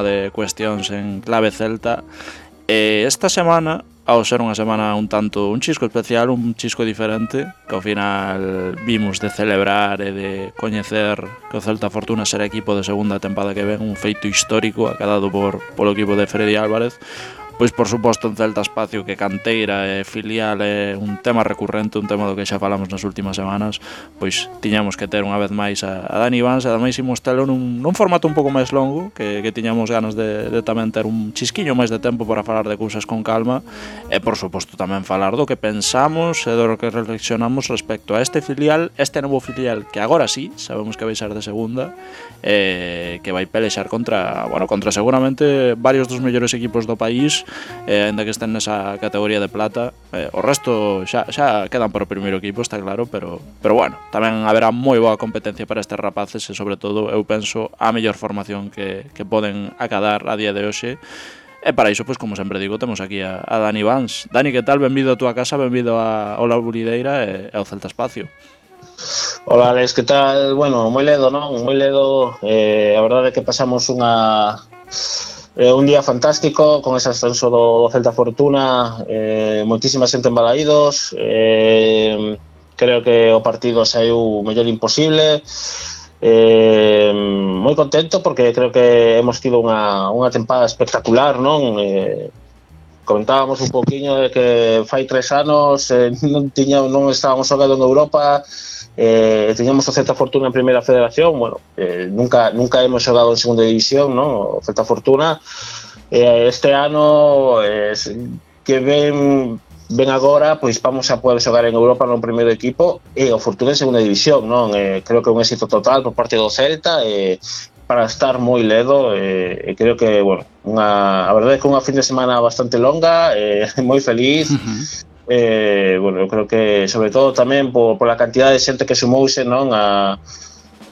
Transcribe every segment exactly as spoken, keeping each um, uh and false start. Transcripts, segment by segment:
de cuestións en clave celta. E esta semana, ao ser unha semana un tanto un chisco especial, un chisco diferente, que ao final vimos de celebrar e de coñecer que o Celta Fortuna será equipo de segunda tempada que ven, un feito histórico acadado por polo equipo de Freddy Álvarez. Pois por suposto en Celta Espacio que canteira e filial é un tema recurrente, un tema do que xa falamos nas últimas semanas, pois tiñamos que ter unha vez máis a, a Dani Vans, e ademais imos telo nun, nun formato un pouco máis longo, que, que tiñamos ganas de, de tamén ter un chisquiño máis de tempo para falar de cousas con calma, e por suposto tamén falar do que pensamos e do que reflexionamos respecto a este filial, este novo filial que agora sí, sabemos que vai ser de segunda, e que vai pelexar contra, bueno, contra seguramente varios dos mellores equipos do país, eh, ainda que estén nesa categoría de plata. Eh, o resto xa, xa quedan para o primeiro equipo, está claro, pero, pero bueno, tamén haberá moi boa competencia para estes rapaces e sobre todo eu penso a mellor formación que, que poden acadar a día de hoxe. E para iso, pois, como sempre digo, temos aquí a, a Dani Vans. Dani, que tal? Benvido a túa casa, benvido a Ola Burideira e ao Celta Espacio. Hola, Alex, que tal? Bueno, moi ledo, non? Moi ledo. Eh, a verdade é que pasamos unha... Eh, un día fantástico con ese ascenso do, do Celta Fortuna, eh, moitísima xente en Balaídos, eh, creo que o partido saiu mellor imposible, eh, moi contento porque creo que hemos tido unha, unha tempada espectacular, non? Eh, comentábamos un poquinho de que fai tres anos eh, non, tiña, non estábamos xogando en Europa, Eh, teníamos o Celta Fortuna en Primeira Federación, bueno, eh, nunca nunca hemos xogado en Segunda División, ¿no? O Celta Fortuna. Eh, este ano eh, que ven ven agora, pois vamos a poder xogar en Europa no primeiro equipo e o Fortuna en Segunda División, non? Eh, creo que é un éxito total por parte do Celta, eh, para estar moi ledo, eh, e creo que, bueno, unha, a verdade é que unha fin de semana bastante longa, eh, moi feliz. Uh-huh. Eh, bueno, eu creo que sobre todo tamén por, por a cantidad de xente que sumouse, non, a,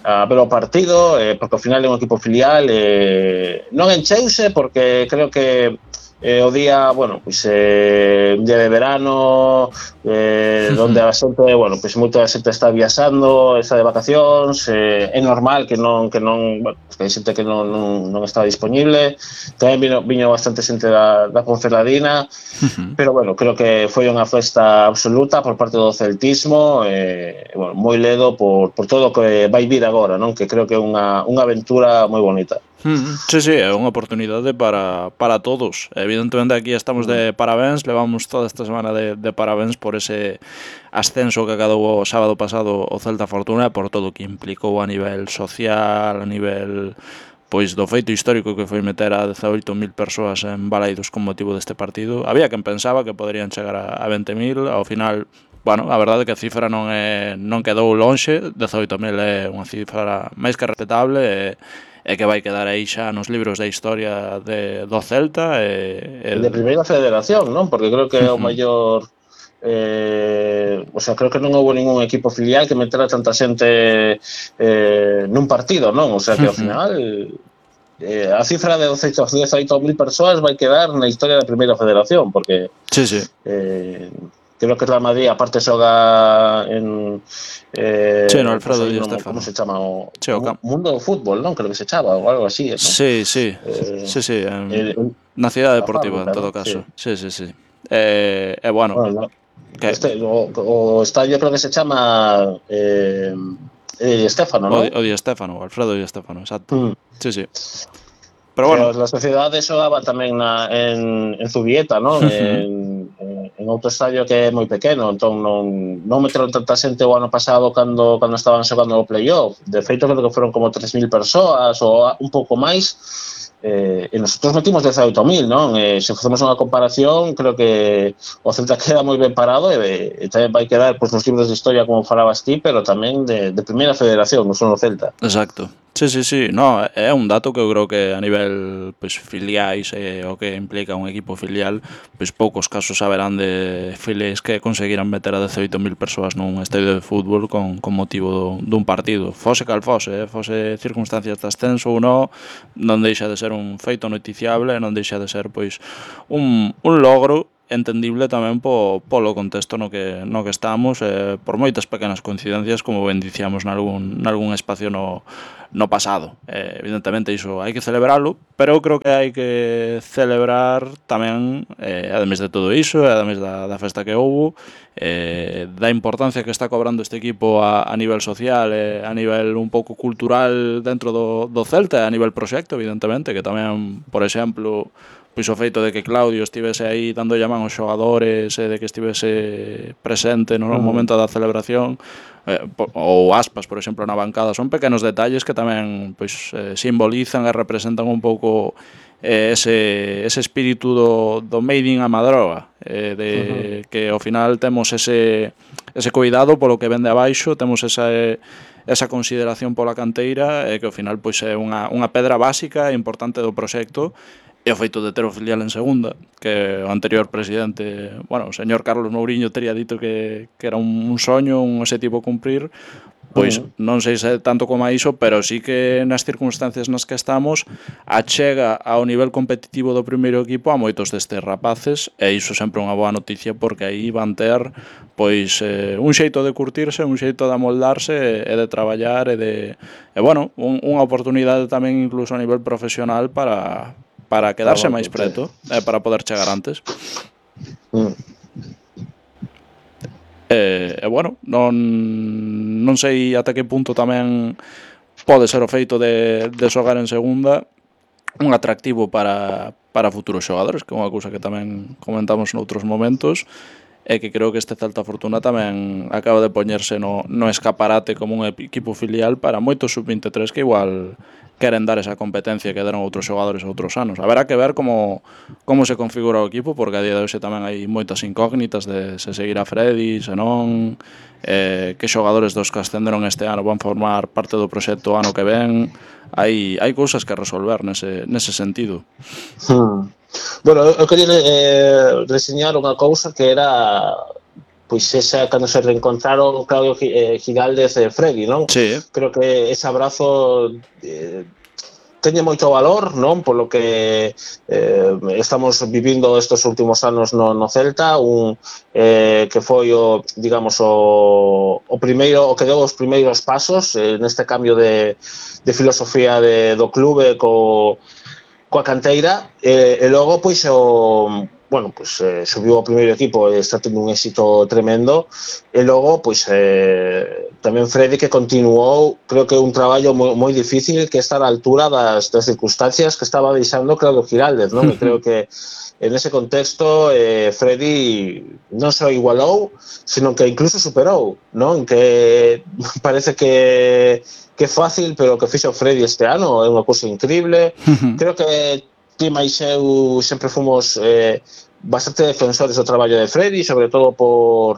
a ver o partido, eh, porque ao final é un equipo filial, eh, non encheuse porque creo que eh, o día, bueno, pois eh, un día de verano, eh, donde a xente, bueno, pois moita xente está viaxando, está de vacacións, eh, é normal que non, que non, bueno, que hai xente que non, non, non está disponible, tamén vino, viño bastante xente da, da Ponferradina, uh-huh. Pero, bueno, creo que foi unha festa absoluta por parte do celtismo, e, eh, bueno, moi ledo por, por todo o que vai vir agora, non? Que creo que é unha, unha aventura moi bonita. Sí, sí, é unha oportunidade para, para todos. Evidentemente aquí estamos de parabéns, levamos toda esta semana de, de parabéns por ese ascenso que acadou o sábado pasado o Celta Fortuna, por todo o que implicou a nivel social, a nivel pois do feito histórico que foi meter a dezaoito mil persoas en Balaídos con motivo deste partido. Había quen pensaba que poderían chegar a, a vinte mil, ao final, bueno, a verdade é que a cifra non é non quedou lonxe, dezaoito mil é unha cifra máis que respetable e e que vai quedar aí xa nos libros da historia de, do Celta e, e de Primeira Federación, non? Porque creo que é o maior eh, o sea, creo que non houve ningún equipo filial que metera tanta xente eh, nun partido, non? O sea, que ao final eh, a cifra de dezaoito mil persoas vai quedar na historia da Primeira Federación, porque sí, sí. Eh, creo que Real Madrid aparte xoga en eh, sí, no, Alfredo Di Stéfano. Como se chama o, sí, o Mundo do Fútbol, non? Creo que se chama ou algo así, ¿no? Sí, sí, eh, sí, sí, en, eh, na Cidade Deportiva, fábrica, en todo ¿no? caso. Sí, sí, sí. sí. Eh, eh, bueno, bueno no, que... este, o, o estadio creo que se chama eh, Di Stéfano, ¿no? O Di Stéfano, Alfredo Di Stéfano, exacto. Mm. Sí, sí. Pero bueno, pero a sociedade xogaba tamén na, en, en Zubieta, non? Uh-huh. en, en outro estadio que é moi pequeno, entón non, non meteron tanta xente o ano pasado cando, cando estaban xogando o playoff. De feito, creo que foron como tres mil persoas ou un pouco máis, eh, e nosotros metimos dezaoito mil, non? Eh, se facemos unha comparación, creo que o Celta queda moi ben parado e, e tamén vai quedar pois, nos libros de historia, como falabas ti, pero tamén de, de Primeira Federación, non son o Celta. Exacto. Sí, sí, sí, no, é un dato que eu creo que a nivel pues, filiais e o que implica un equipo filial, pois poucos casos haberán de filiais que conseguiran meter a dezaoito mil persoas nun estadio de fútbol con, con motivo do, dun partido. Fose cal fose, eh? fose circunstancias de ascenso ou non, non deixa de ser un feito noticiable, non deixa de ser pois un, un logro entendible tamén po, polo contexto no que, no que estamos, eh, por moitas pequenas coincidencias, como ben dicíamos nalgún, nalgún espacio no, no pasado. Eh, evidentemente iso hai que celebralo, pero eu creo que hai que celebrar tamén, eh, ademais de todo iso, ademais da, da festa que houbo, eh, da importancia que está cobrando este equipo a, a nivel social, eh, a nivel un pouco cultural dentro do, do Celta, a nivel proxecto, evidentemente, que tamén, por exemplo, pois o feito de que Claudio estivese aí dando llamán aos xogadores e de que estivese presente no momento da celebración, eh, ou Aspas, por exemplo, na bancada, son pequenos detalles que tamén pois eh, simbolizan e representan un pouco eh, ese, ese espírito do, do made in a Madroga, eh, de uh-huh. que ao final temos ese, ese cuidado polo que vende abaixo, temos esa esa consideración pola canteira, e que ao final pois é unha, unha pedra básica e importante do proxecto. E o feito de ter o filial en segunda, que o anterior presidente, bueno, o señor Carlos Mouriño tería dito que, que era un, un soño, un objetivo cumprir, pois uh-huh. non sei se tanto como a iso, pero sí que nas circunstancias nas que estamos achega ao nivel competitivo do primeiro equipo a moitos destes rapaces, e iso sempre é unha boa noticia, porque aí van ter pois eh, un xeito de curtirse, un xeito de amoldarse e de traballar e de e bueno, un, unha oportunidade tamén incluso a nivel profesional para para quedarse máis preto, eh, para poder chegar antes. Mm. E, e bueno, non, non sei ata que punto tamén pode ser o feito de, de xogar en segunda un atractivo para, para futuros xogadores, que é unha cousa que tamén comentamos noutros momentos, e que creo que este Celta Fortuna tamén acaba de poñerse no, no escaparate como un equipo filial para moitos sub veintitrés que igual queren dar esa competencia que deron outros xogadores outros anos. Haberá que ver como, como se configura o equipo, porque a día de hoxe tamén hai moitas incógnitas de se seguirá Freddy, se non, eh, que xogadores dos que ascenderon este ano van formar parte do proxecto ano que ven. Hai, hai cousas que resolver nese, nese sentido. Hmm. Bueno, eu queria eh, reseñar unha cousa que era pois esa cando se reencontraron Claudio Giraldez e Freddy, non? Sí. Creo que ese abrazo eh, teñe moito valor, non? Polo que eh, estamos vivindo estes últimos anos no, no Celta, un eh, que foi o, digamos, o, o primeiro, o que deu os primeiros pasos eh, neste cambio de, de filosofía de, do clube co coa canteira, e, e logo pois o bueno, pois eh, subiu ao primeiro equipo e está tendo un éxito tremendo, e logo pois eh, tamén Freddy, que continuou, creo que un traballo moi, moi difícil, que está á altura das, das circunstancias que estaba deixando Claudio Giraldez, non? E creo que en ese contexto eh, Freddy non só igualou, sino que incluso superou, non? Que parece que que é fácil, pero o que fixo Freddy este ano é unha cousa increíble. Creo que ti máis eu sempre fomos eh, bastante defensores do traballo de Freddy, sobre todo por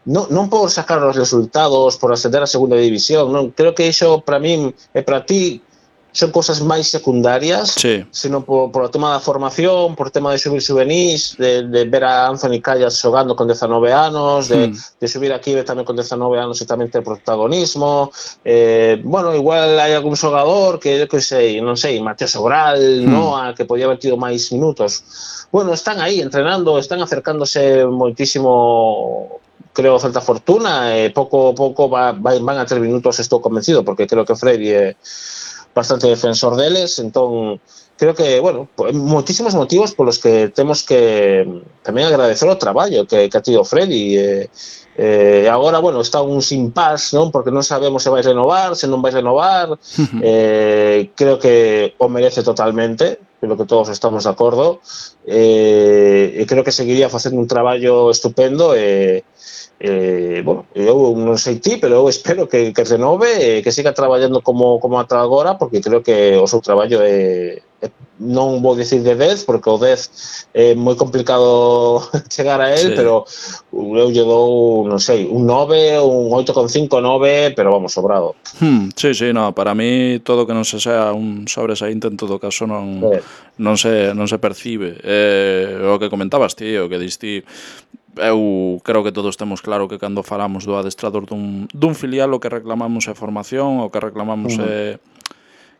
non, non por sacar os resultados, por ascender a segunda división, non, creo que iso para min e para ti son cousas máis secundarias, sí, sino por, por o tema da formación, por o tema de subir juvenís, de, de ver a Anthony Callas xogando con dezanove anos, de, mm. de subir aquí tamén con dezanove anos e tamén ter protagonismo. Eh, bueno, igual hai algún xogador que, eu que sei, non sei, Mateo Sobral, mm. Noa, que podía haber tido máis minutos. Bueno, están aí entrenando, están acercándose moitísimo, creo, Celta Fortuna, e pouco a pouco va, va, van a ter minutos, estou convencido, porque creo que Freddy é bastante defensor deles, entón creo que, bueno, moitísimos motivos polos que temos que tamén agradecer o traballo que, que ha tido Freddy. E eh, agora, bueno, está un impasse, non? Porque non sabemos se vai renovar, se non vai renovar. Uh-huh. eh, creo que o merece totalmente, creo que todos estamos de acordo, eh, e creo que seguiría facendo un traballo estupendo. E Eh, bueno, eu non sei ti, pero eu espero que, que renove e que siga traballando como, como ata agora, porque creo que o seu traballo é, é non vou dicir de dez, porque o dez é moi complicado chegar a él, sí. Pero eu lle dou, non sei, un nove, un oito coma cinco, nove, pero vamos, sobrado. Hmm, sí, sí, no, para mí todo que non se sea un sobresaínte en todo caso non, sí. non, se, non se percibe. Eh, o que comentabas ti, o que diste, eu creo que todos temos claro que cando falamos do adestrador dun, dun filial o que reclamamos é formación, o que reclamamos uh-huh. é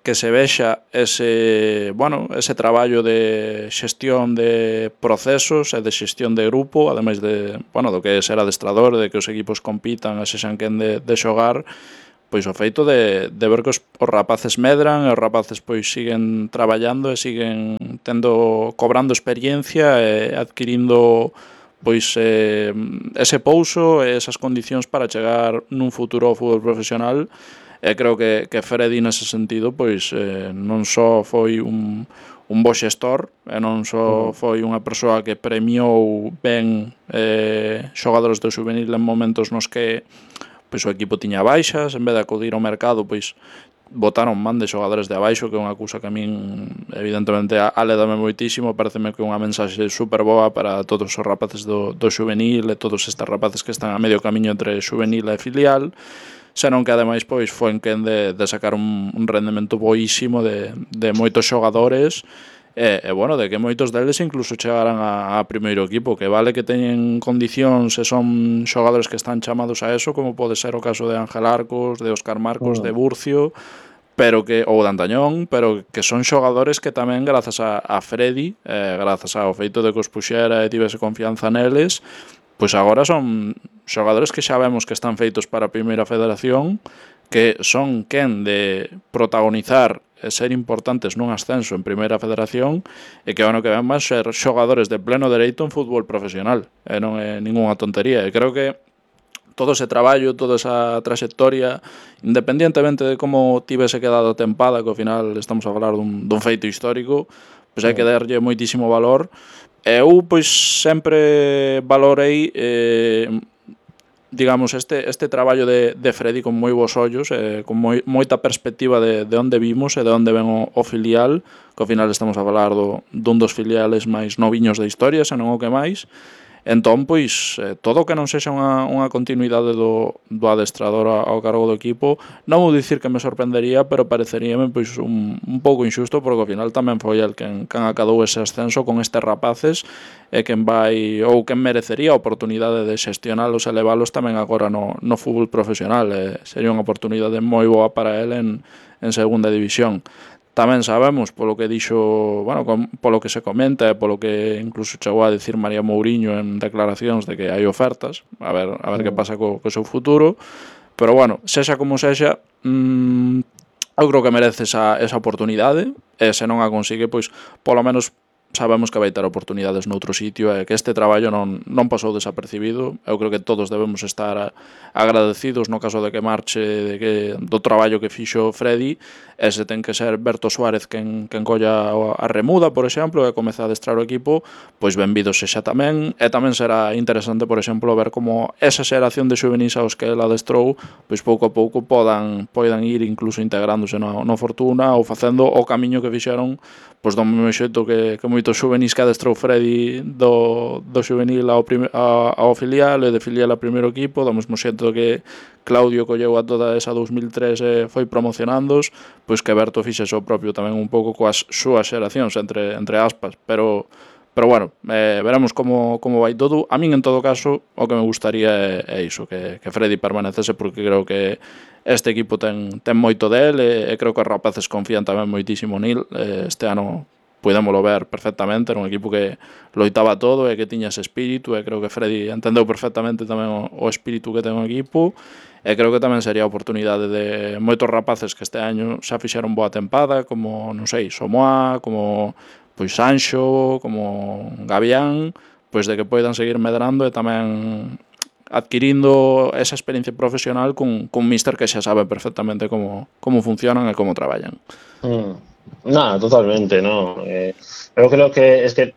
que se vexa ese, bueno, ese traballo de xestión de procesos e de xestión de grupo, ademais de, bueno, do que é ser adestrador, de que os equipos compitan e sexan quen de, de xogar, pois o feito de, de ver que os, os rapaces medran e os rapaces pois siguen traballando e siguen tendo, cobrando experiencia e adquirindo pois eh, ese pouso e esas condicións para chegar nun futuro ao fútbol profesional. E creo que, que Freddy nese sentido pois eh, non só foi un, un bo xestor e non só foi unha persoa que premiou ben eh, xogadores do xuvenil en momentos nos que pois o equipo tiña baixas, en vez de acudir ao mercado pois botaron man de xogadores de abaixo, que é unha cousa que a min evidentemente alédame moitísimo, pareceme que é unha mensaxe super boa para todos os rapaces do, do xuvenil e todos estes rapaces que están a medio camiño entre xuvenil e filial, senón que ademais pois foi en quen de, de sacar un, un rendemento boísimo de, de moitos xogadores e, e bueno, de que moitos deles incluso chegaran a, a primeiro equipo, que vale que teñen condicións e son xogadores que están chamados a eso, como pode ser o caso de Ángel Arcos, de Óscar Marcos, de Burcio, pero que ou de Antañón, pero que son xogadores que tamén grazas a, a Freddy, eh, grazas ao feito de que os puxera e tivese confianza neles, pois agora son xogadores que xa vemos que están feitos para a primeira federación, que son quen de protagonizar e ser importantes nun ascenso en primeira federación e que ano que ven van ser xogadores de pleno dereito en fútbol profesional, e non é ninguna tontería. E creo que todo ese traballo, toda esa trayectoria, independientemente de como tivese quedado tempada, que ao final estamos a falar dun, dun feito histórico, pois hai que darlle moitísimo valor. E eu, pois, sempre valorei, eh, digamos, este, este traballo de, de Freddy con moi bons ollos, eh, con moi, moita perspectiva de, de onde vimos e de onde ven o, o filial, que ao final estamos a falar do, dun dos filiales máis noviños da historia, se non o que máis. Entón, pois, eh, todo o que non sexa unha, unha continuidade do, do adestrador ao cargo do equipo, non vou dicir que me sorprendería, pero pareceríame pois, un, un pouco injusto, porque ao final tamén foi el quen, quen acadou ese ascenso con estes rapaces e quen vai, ou quen merecería a oportunidade de xestionalos e leválos tamén agora no, no fútbol profesional. Eh, sería unha oportunidade moi boa para el en, en segunda división. Tamén sabemos, polo que dixo, bueno, polo que se comenta e polo que incluso chegou a decir María Mouriño en declaracións de que hai ofertas, a ver a ver que pasa co, co seu futuro, pero bueno, sexa como sexa, mmm, eu creo que merece esa, esa oportunidade, e se non a consigue, pois, polo menos sabemos que vai ter oportunidades noutro sitio e que este traballo non, non pasou desapercibido. Eu creo que todos debemos estar agradecidos no caso de que marche de que, do traballo que fixo Freddy, e se ten que ser Berto Suárez quen, quen colla a remuda, por exemplo, e comeza a adestrar o equipo, pois benvido sexa tamén, e tamén será interesante, por exemplo, ver como esa xeración de xuvenis aos que el adestrou, pois pouco a pouco podan, podan ir incluso integrándose no, no Fortuna ou facendo o camiño que fixeron pois do mesmo xeito que, que moitos xuvenis que adestrou Freddy do, do xuvenil ao, prime, a, ao filial e de filial ao primeiro equipo, do mesmo xeito que Claudio colleu a toda esa dos mil tres e foi promocionándos, pois que Berto fixe o propio tamén un pouco coas súas xeracións, entre, entre aspas, pero pero bueno, eh, veremos como, como vai todo. A min, en todo caso, o que me gustaría é, é iso, que, que Freddy permanecese, porque creo que este equipo ten, ten moito del, e, e creo que os rapaces confían tamén moitísimo nil. Eh, este ano podémolo ver perfectamente, era un equipo que loitaba todo e que tiña ese espírito, e creo que Freddy entendeu perfectamente tamén o, o espírito que ten o equipo, e creo que tamén sería a oportunidade de moitos rapaces que este año xa fixeron boa tempada, como, non sei, Somoa, como pois Sancho, como Gavián, pois de que poidan seguir medrando e tamén adquirindo esa experiencia profesional con, con míster que xa sabe perfectamente como, como funcionan e como traballan. Mm, nada, totalmente, no. Eh, eu creo que es que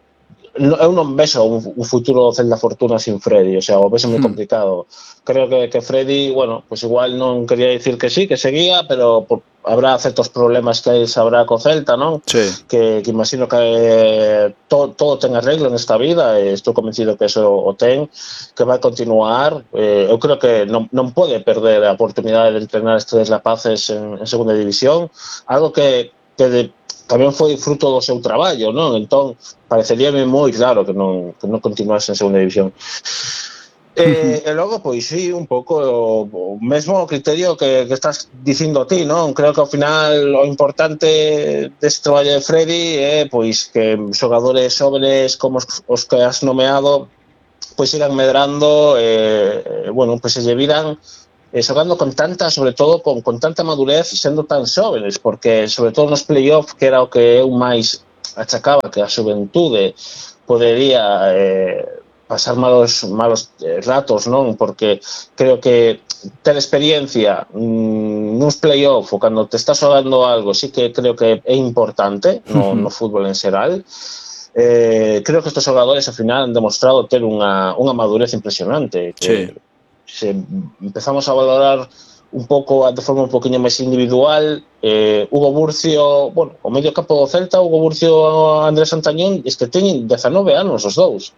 no, eu non vexo un, un futuro do Celta Fortuna sin Freddy, o sea, o vexo moi complicado. Creo que, que Freddy, bueno, pues igual non quería dicir que sí, que seguía, pero por, habrá certos problemas que sabrá co Celta, non? Sí. Que, que imagino que eh, to, todo ten arreglo nesta vida, e estou convencido que eso o ten, que vai continuar. Eh, eu creo que non, non pode perder a oportunidade de entrenar estes rapaces en, en segunda división, algo que, que de, tamén foi fruto do seu traballo, non? Entón, pareceríame moi claro que non, que non continuase en segunda división. E, e logo, pois sí, un pouco o, o mesmo criterio que, que estás dicindo ti, non? Creo que ao final o importante deste traballo de Freddy é pois que xogadores xóvenes como os, os que has nomeado pois sigan medrando e, eh, bueno, pois se lle viran eh, xogando con tanta, sobre todo con, con tanta madurez sendo tan xóvenes, porque sobre todo nos play-off, que era o que eu máis achacaba que a xuventude podería eh, pasar malos malos eh, ratos, non? Porque creo que ter experiencia mm, nuns play-off ou cando te estás xogando algo, sí que creo que é importante no, no fútbol en xeral. Eh, creo que estes xogadores ao final han demostrado ter unha, unha madurez impresionante, que Sí. se empezamos a valorar un pouco de forma un poquinho máis individual, eh, Hugo Burcio, bueno, o medio campo do Celta, Hugo Burcio e Andrés Antañón, es que teñen dezanove anos os dous.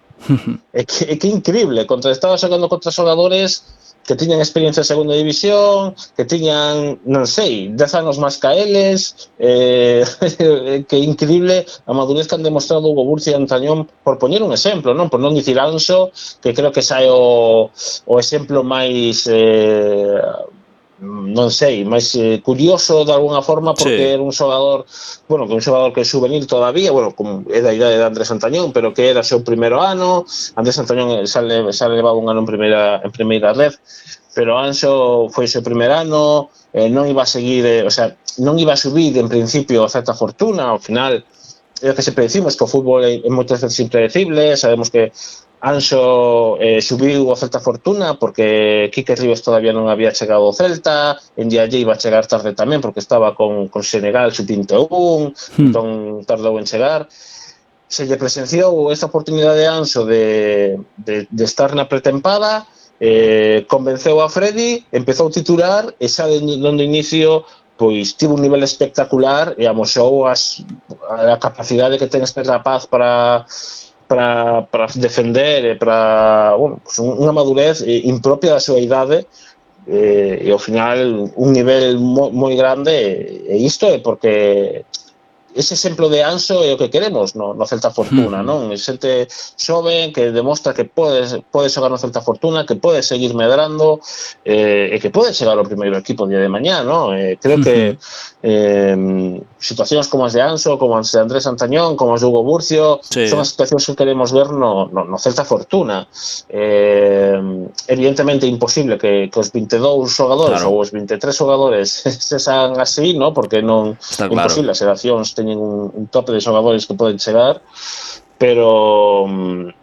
É que, é que increíble, contra estaba xogando contra xogadores que tiñan experiencia en segunda división, que tiñan, non sei, dez anos máis que eles, eh, que increíble a madurez que han demostrado Hugo Burcio e Antañón, por poñer un exemplo, non? Por non dicir Anso, que creo que sai o, o exemplo máis... Eh, non sei, máis eh, curioso de alguna forma, porque Sí. era un xogador, bueno, que un xogador que é juvenil todavía, bueno, como é da idade de Andrés Antañón, pero que era o seu primeiro ano. Andrés Antañón xa, le, xa levaba un ano en primeira, en primeira red, pero Anxo foi o seu primer ano, eh, non iba a seguir, eh, o sea, non iba a subir en principio a certa fortuna, ao final é o que sempre decimos, que o fútbol é, é moitas veces impredecible, sabemos que Anxo eh, subiu a Celta Fortuna porque Quique Rivas todavía non había chegado ao Celta, en Dialle iba a chegar tarde tamén porque estaba con, con Senegal sub vinte e un, hmm. entón tardou en chegar. Se lle presenciou esta oportunidade de Anxo de, de, de estar na pretempada, eh, convenceu a Freddy, empezou a titular e xa de, de inicio pois tivo un nivel espectacular e amosou as, a capacidade que ten este rapaz para para, para defender e para, bueno, pues unha madurez impropia da súa idade e, e ao final un nivel moi, moi grande e isto é porque ese exemplo de Anxo é o que queremos no, no Celta Fortuna, non? Xente xoven que demostra que pode, pode xogar no Celta Fortuna, que pode seguir medrando eh, e que pode chegar ao primeiro equipo o día de mañá, non? Eh, creo que eh, situacións como as de Anxo, como as de Andrés Antañón, como as de Hugo Burcio, sí. Son as situacións que queremos ver no, no, no Celta Fortuna. Eh, evidentemente imposible que, que os vinte e dous xogadores claro. Ou os vinte e tres xogadores se san así, non? Porque non é imposible, as xeracións teñen un, un tope de xogadores que poden chegar, pero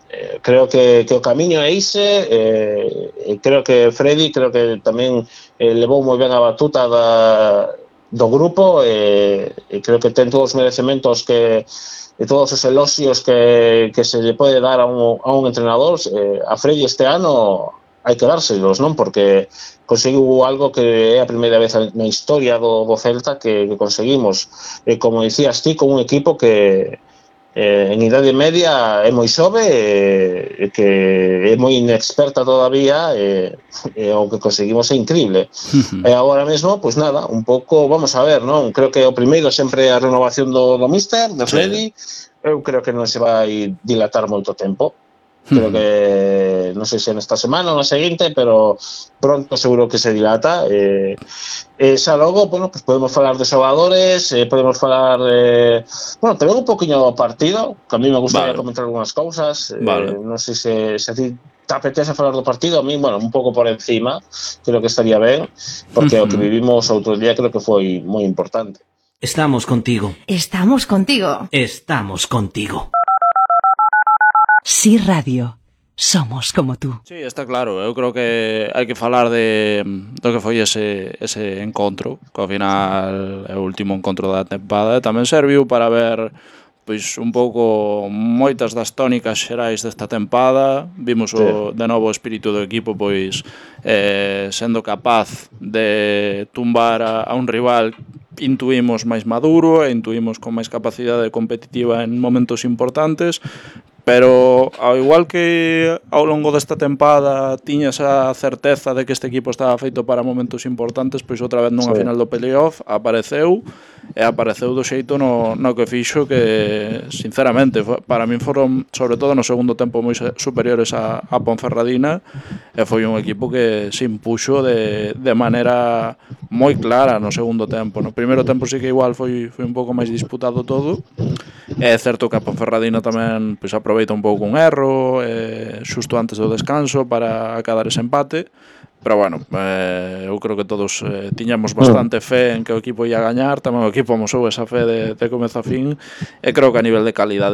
eh, creo que, que o camiño é ise, eh, creo que Freddy creo que tamén eh, levou moi ben a batuta da, do grupo e eh, creo que ten todos os merecementos que e todos os eloxios que, que se lle pode dar a un, a un entrenador. Eh, a Freddy este ano hai que dárselos, non? Porque conseguiu algo que é a primeira vez na historia do, do Celta que, que conseguimos, e como dicías ti, con un equipo que eh, en idade media é moi xove e que é moi inexperta todavía e, e o que conseguimos é increíble. Uh-huh. E agora mesmo, pois nada, un pouco, vamos a ver, non? Creo que o primeiro sempre é a renovación do, do míster, de Freddy. Sí. Eu creo que non se vai dilatar moito tempo. Creo que, non sei se nesta semana ou na seguinte, pero pronto seguro que se dilata. Eh, e xa logo, bueno, pues podemos falar de xogadores, eh, podemos falar de... Bueno, tamén un poquinho do partido, que a mí me gustaría vale. Comentar algunhas cousas. Vale. Eh, non sei se, se a ti te apetece falar do partido, a mí, bueno, un pouco por encima, creo que estaría ben, porque uh-huh. o que vivimos outro día creo que foi moi importante. Estamos contigo. Estamos contigo. Estamos contigo. Sí Radio, somos como tú. Sí, está claro, eu creo que hai que falar de do que foi ese, ese encontro, que ao final é o último encontro da tempada, e tamén serviu para ver pois un pouco moitas das tónicas xerais desta tempada. Vimos o, de novo o espírito do equipo pois eh, sendo capaz de tumbar a, a un rival intuímos máis maduro e intuímos con máis capacidade competitiva en momentos importantes. Pero ao igual que ao longo desta tempada tiñas a certeza de que este equipo estaba feito para momentos importantes, pois outra vez nunha sí. Final do playoff apareceu e apareceu do xeito no, no que fixo que, sinceramente, para min foron, sobre todo no segundo tempo, moi superiores a, a Ponferradina, e foi un equipo que se impuxo de, de maneira moi clara no segundo tempo. No primeiro tempo sí que igual foi, foi un pouco máis disputado todo. É certo que a Ponferradina tamén pois, aproveita un pouco un erro eh, xusto antes do descanso para acadar ese empate. Pero bueno, eh, eu creo que todos eh, tiñamos bastante fe en que o equipo ia gañar, tamén o equipo amosou esa fe de, de comezo a fin, e creo que a nivel de calidade